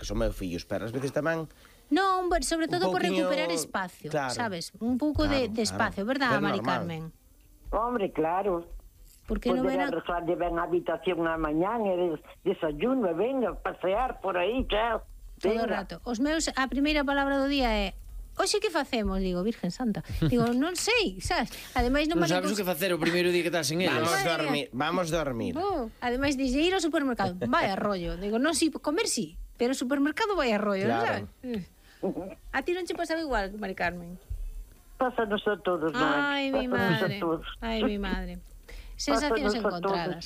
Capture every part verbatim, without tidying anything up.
que son meus fillos, pero ás veces tamén... Non, sobre todo por pouquiño... recuperar espacio, claro, sabes? Un pouco claro, de, de espacio, claro. verdad, É Mari normal. Carmen? Hombre, claro. Porque non Poder era... arreglar de ben a habitación na mañán e des, desayuno, e venga, pasear por aí, chao. Todo o Venga. rato. Os meus, a primeira palabra do día é: hoxe que facemos? Digo, Virgen Santa. Digo, non sei, sabes? Ademais non, Non vale sabes o cons- que facer o primeiro día que estás en eles. Vamos Madre dormir, vamos dormir. Oh, ademais dixe ir ao supermercado. Vai a rollo. Digo, non, si, comer si, pero o supermercado vai a rollo, Claro. non sabes? A ti non che pasaba igual, Mari Carmen? Pásanos a todos, non? Ai, mi Pásanos madre. a todos. Ai, mi madre. Sensacións Pásanos a encontradas.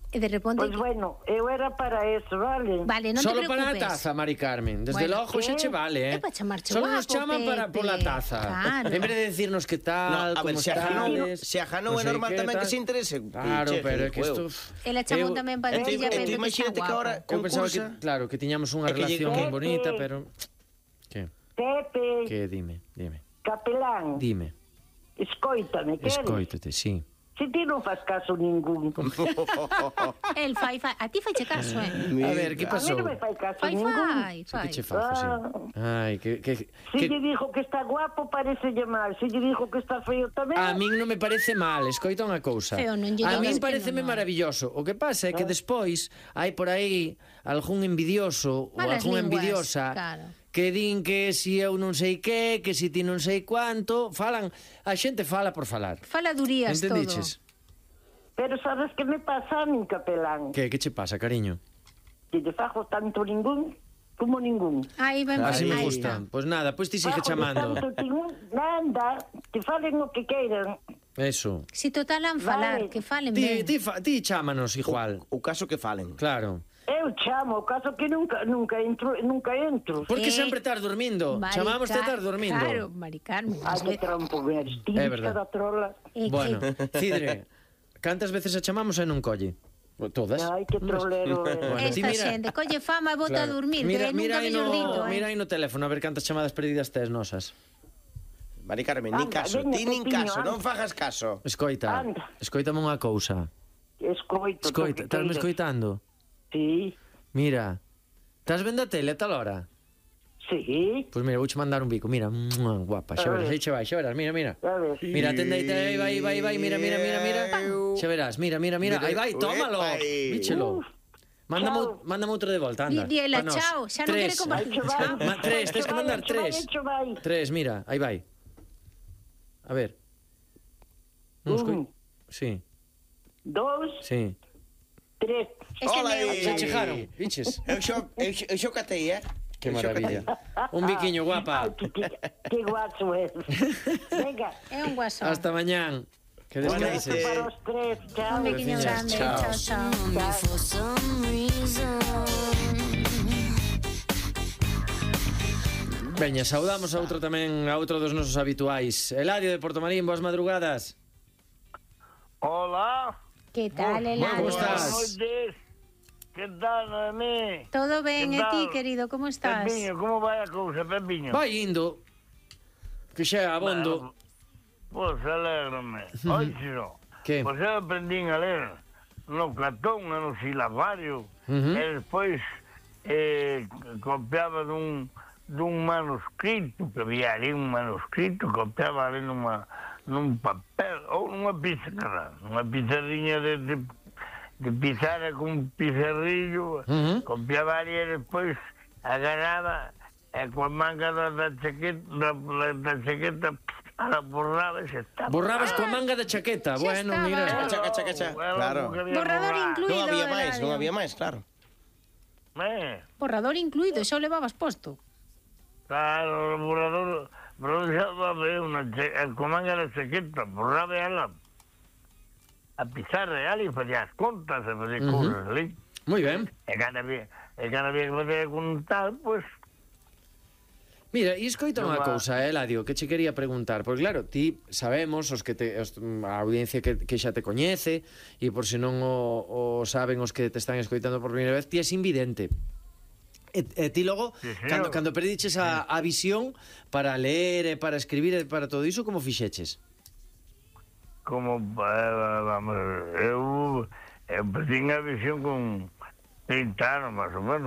E de repente... Pois bueno, eu era para eso, vale? Vale, non Solo te para a preocupes. taza, Mari Carmen. Desde Bueno, logo xa che vale, eh? É para chamarche Solo nos guapo, chaman para, por la Pepe. taza. Claro. En vez de decirnos que tal, No, a ver, como se a Janou- estades... se a Janou non é sei normal que, tamén que tal. se interese. Claro, Che, pero é que juego. isto... Ela chamou Eu- tamén para E ti- dicirlle a e ti Pepe que está imagínate que ahora guapo. Eu pensaba que, concursa- claro, que tiñamos unha É que lle- relación Pepe. bonita, pero... Que? Pepe, Que, dime, dime. capelán, Dime. escoítame, queres? Escoítate, sí. Se ti non faz caso ningún. El fai, fai. A ti faiche caso, eh? A ver, que A mí pasou? non me fai caso Fai, ningún. fai, Sí, fai. que che fajo, sí. Ai, que... que, Si que... lle dijo que está guapo, parece mal. Si lle dijo que está feo tamén. A min non me parece mal, escoita unha cousa. Feo, non lle A min digas que pareceme non, non. maravilloso. O que pasa é que despois hai por aí algún envidioso ou Malas algunha linguas, envidiosa claro. que din que si eu non sei que, que si ti non sei cuánto, falan, a xente fala por falar. Faladurías todo. Entendiches? Pero sabes que me pasa a min, capelán? Que, que che pasa, cariño? Que lle fajo tanto ningún como ningún. Aí ben, Así me aí gustan. está. Pois nada, pois ti sigue Fajo de chamando. tanto ningún, nada, que falen o que queiran. Eso. Si total han falar, Vale. que falen Ti, ben. ti, fa, ti chámanos igual. O caso que falen. Claro. Eu chamo, o caso que nunca nunca entro, nunca entro. Porque Eh, sempre estás dormindo. Mari Chamamos te Car- estás dormindo. Claro, Mari Carmen. Ai, que trampo, eres típica É verdad. da trola. É que- Bueno, Cidre, cantas veces a chamamos e non colle? Todas. Ai, que trolero é. Bueno, ti Esta mira- xente colle fama e bota a Claro. dormir, Mira, que mira nunca aí mellor no, dito, eh? mira aí no teléfono a ver cantas chamadas perdidas tes nosas. Mari Carmen, nin Anda, caso, veña, ti nin Pepiño, caso, anda. non fagas caso. Escoita, Anda. escoítame unha cousa. Escoito. Escoita, estás me escoitando? Sí, Mira, estás vendo a tele a tal hora? sí. Pois mira, vouche mandar un bico, mira, mua, guapa, xa A verás, ver. aí che vai, xa verás, mira, mira. A ver. Mira, atende aí, aí vai, vai, vai, mira, mira, mira, mira. Xa verás, mira, mira, mira, aí vai, tómalo. Uepai. Víchelo. Mándame, Chao. ou- mándame outro de volta, anda. Di- diela, pa nós. chao, xa non Tres. quere compartir. Hecho vai. Ma- tres, tens que mandar Hecho vai, tres. hecho vai. Tres, mira, aí vai. A ver. Non escoi... Un, Sí, dos, sí. tres. Este Hola, meu. aí. Se chegaron, biches. Eu xo, eu, xo- eu xo catei, eh? Que Eu xo maravilla. catei. Un biquiño, guapa. Ay, que, que, que guacho es. Venga. É un guasón. Hasta mañán. Que Buenas descanses. noches. Para os tres. Chao. Un pequeño Besiños, grande. chao. Chao, chao. me for some reason. Veña, saudamos a outro tamén, a outro dos nosos habituais. Eladio de Portomarín, boas madrugadas. Hola. Que tal, Eladio? ¿Cómo estás? Buenas noches. ¿Qué tal, Noemí? Todo ben, Que e ti, tal? querido, como estás? Pepiño, ¿cómo vai a cousa, Pepiño? Vai indo. Que xa é abondo. Pois alégrame. Oixo. Que? Pois eu aprendín a ler no Platón, no silabario, Ujú. e despois eh, copiaba dun, dun manuscrito, que había ali un manuscrito, copiaba ali numa, nun papel, ou nunha pizarra, nunha pizarriña de, de, de pizarra con un pizarrillo, Ujú. copiaba ali e despois agarraba e coa manga da, da chaqueta, da, da chaqueta, a la borraba e se estaba. Borrabas coa manga da chaqueta. Xa Bueno, estaba. mira. Cacha, cacha, cacha. Claro. Borrador incluído. Non había máis, Eladio. non había máis, claro. Eh, Borrador incluído, xa o levabas posto. claro, o borrador, borrador xa va ver unha che- eh, con manga da chaqueta, borraba ela a pizarra e ali facía as contas e facía Ujú. cousas ali. Moi ben. E cada había, e cada había que facer con tal, pois, Mira, e escoita Non unha va- cousa, eh, Eladio, que che quería preguntar. Porque claro, ti sabemos, os que te, os, a audiencia que, que xa te coñece, e por se non o, o saben os que te están escoitando por primeira vez, ti és invidente. E, e ti logo, Sí, señor. cando, cando perdiches a, a visión para ler e para escribir e para todo iso, como fixeches? como, eh, vamos, eu, eu perdín a visión con, trinta anos, máis ou menos.